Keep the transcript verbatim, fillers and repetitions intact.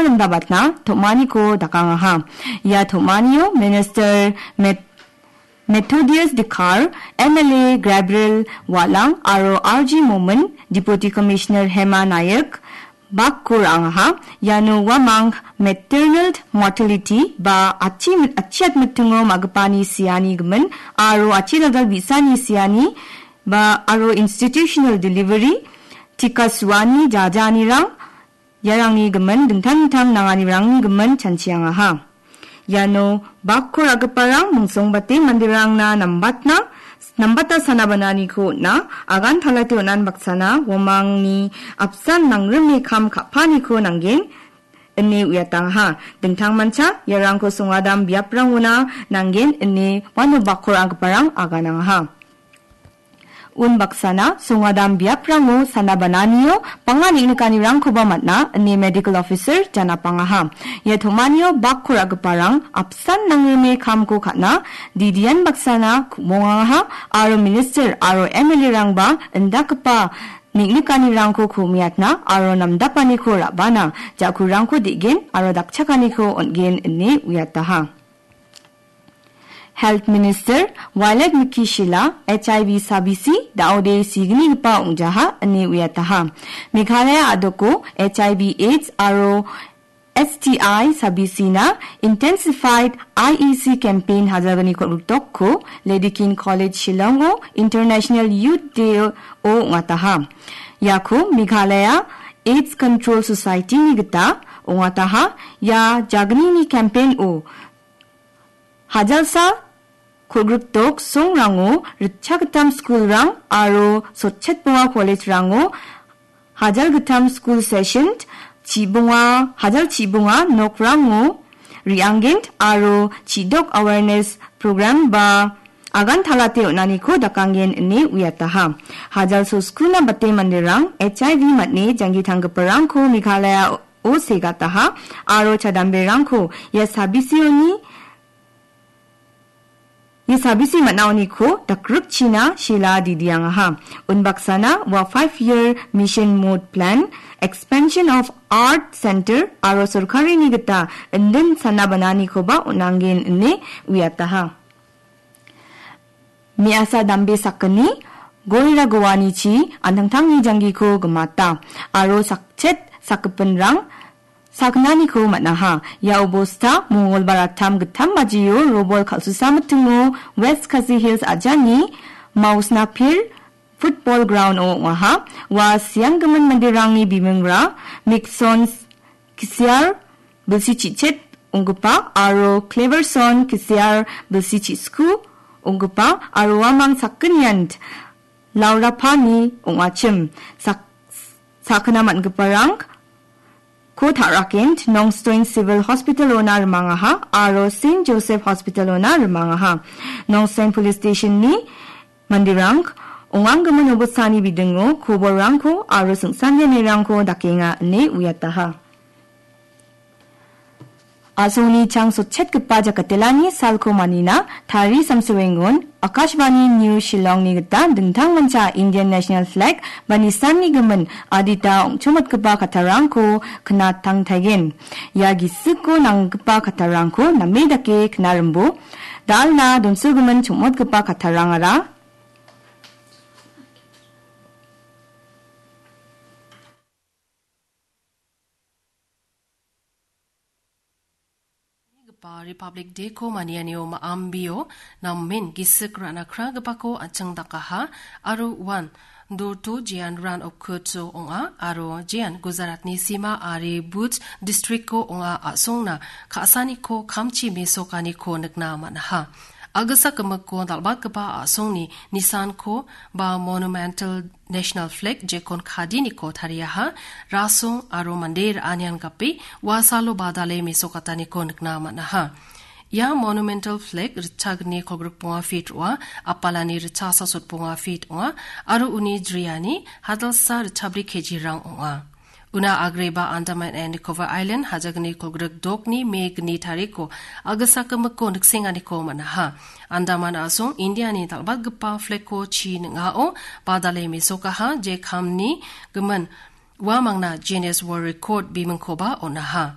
limdabatna tom·aniko dakangaha. Ia tom·anio Minister Met-, Methodius Dikar, M L A Gabriel Walang aro R G Momin, Deputy Commissioner Hema Nayak, bakko ra·angaha. Iano uamang maternal mortality ba achi-, achiatmitingo ma·gipani siani gimin aro achi dal·dal bi·sani siani ba aro institutional delivery, tika suani jajaanirang, iarangni gimin dingtang dingtang nanganirangni gimin chanchiangaha. Iano bakko ra·giparang mingsongbate manderangna nambatna, nambata sana bananiko on·a, agan talate on·an baksana uamangni apsan nangrime kam ka·paniko nanggen ine uiatangaha. Dingtangmancha iarangko songadam biaprangona nanggen ine uano bakko ra·giparang aganangaha. Unbaksana songadam biaprango sana bananio bang·a neng·nikanirangkoba man·a ine medical officer janapangaha. Ia tom·anio bakko ra·giparang apsan nangrime kamko ka·na didian baksana ku·mongangaha aro minister aro M L A-rangba indakgipa neng·nikanirangko ku·miatna aro namdapaniko ra·bana ja·kurangko de·gen aro dakchakaniko on·gen ine uiataha. Health Minister Violet Miki Shylla H I V sabisi da·ode signigipa ong·jaha ine uiataha. Meghalaya a·doko H I V AIDS aro S T I sabisina Intensified I E C campaign hajalgni kolgriktokko Lady King College Shillongo International Youth Day-o ong·ataha. Iako Meghalaya AIDS Control Society-ni gita ong·ataha. Ia jagnini campaign-o hajalsa kolgrikdok songrango ritchagittam skulrang aro sotchetbonga college-rango hajalgittam skul session, chibonga, hajal chibonga nokrango re·anggen aro chidok awareness program ba agan talate on·aniko dakanggen ine uiataha. Hajalso skuna bate manderang H I V mane janggi tanggiparangko Meghalaya o segataha aro chadamberangko ia sabisioni, ia sabisi man·aoniko dakrikchina Shylla didiangaha. Unbaksana ua five year mission mode plan, expansion of art center aro sorkarini gita indin sana bananikoba on·anggen ine uiataha. Me·asa dambe sakgni goira goanichi an·tangtangni janggiko gimata aro sakchet sakgipinrang sakgnaniko man·aha. Ia obosta Mongolbar attam gittam bajio robol kal·susa mitingo West Khasi Hills ajani Mausnapir football ground-o ong·aha. Ua sianggimin manderangni bimingra Mikson Kisiar bilsi chi·chet onggipa aro Cleverson Kisiar bilsi chi·sku onggipa aro uamang sakgnian Laura Pani ong·achim. Sak-, sakgna man·giparangko ta·rakent Nongstoin Civil Hospital-ona rimangaha aro Saint Joseph Hospital-ona rimangaha. Nongstoin Police Station-ni manderang ong·anggimin obostani bidingo koborrangko aro singsangenirangko dakenga ine uiataha. A·songni chang sotchetgipa jakatelani salko manina tari samsoengon Akashvani News Shillongni gita dingtangmancha Indian National Flag ba nisanni gimin adita ong·chongmatgipa kattarangko knatangtaigen. Ia gisiko nanggipa kattarangko name dake knarimbo. Dalna donsogimin chongmotgipa kattarangara Gipa Republic Day-ko manianio ma·ambio namen gisik ra·na kragipako an·ching dakaha aro uan Dorto jean Ran of Kutsu ong·a aro jean Gujaratni Sima ari Bhuj district-ko ong·a a·songna ka·saniko kamchi mesokaniko nikna man·aha. Agisa gimikko dal·batgipa a·songni nisanko ba monumental National Flag jekon kadiniko tariaha, rasong aro mande ra·anian gape uasalo badale mesokataniko nikna man·aha. Ia monumental flag ritchagni kolgrikbonga feet ong·a, apalani ritchasa sotbonga feet ong·a, aro uni jriani hadalsa ritchabri kejirang ong·a. Una agreba Andaman and Nicobar Island hajagni kolgrik dokni me gni tariko agisa gimikko niksenganiko man·aha. Andaman a·song Indiani dal·batgipa flagko chi ning·ao badale mesokaha, je kamni gimin uamangna Guinness World Record bimingkoba on·aha.